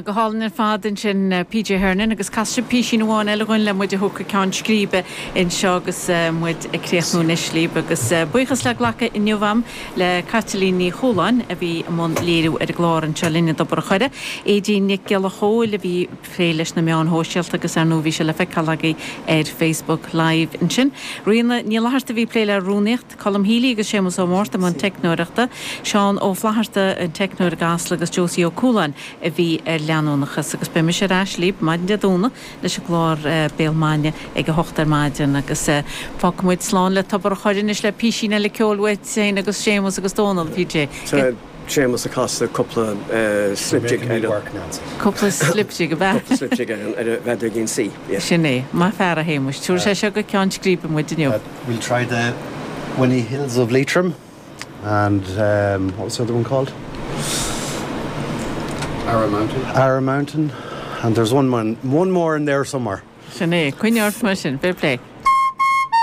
Go hálainn ar fad ansin PJ Hernon agus casfaidh sibh písín amháin eile dhúinn le muid a thabhairt go ceann scríbe anseo agus muid ag críochnú anois libh agus buíochas le glacadh inniu a'm le Caitlín Ní Chualáin a bhí i mbun léiriú ar an gclár anseo linn i dTobar a' Choire, Aedín Nic Giolla Chóill a bhí ag plé leis na meáin shóisialta agus ar ndóigh bhí sé le feiceáil agaibh ar Facebook Live ansin. Ríona Ní Fhlatharta a bhí ag plé le rúnaíocht. Colm Healy agus Séamus Ó Márta i mbun teicneoireachta, Seán Ó Flatharta an teicneoir i gCasla agus Josie Ó Cualáin a bhí ar leanúnachas. Agus beidh mise ar ais libh maidin Dé Domhnaigh leis an gclár Béal Maidine ag a hocht ar maidin agus fágfaidh muid slán le Tobar a' Choire anois le písín eile ceoil uait féin agus Séamus agus Dónal, PJ. Séamus ag casadh cúpla slip jig ar an. Cúpla slip jig, ab ea? Cúpla slip jig ar an bhfeadóigín C, yeah. Sin é. Maith fear, a Shéamuis. Tabharfaidh sé seo go ceann scríbe muid inniu. We'll try the Winnie Hills of Leitrim and what was the other one called? Arrow Mountain. Arrow Mountain and there's one, one more in there somewhere. Sin é. Coinnigh ort mar sin. Fair play.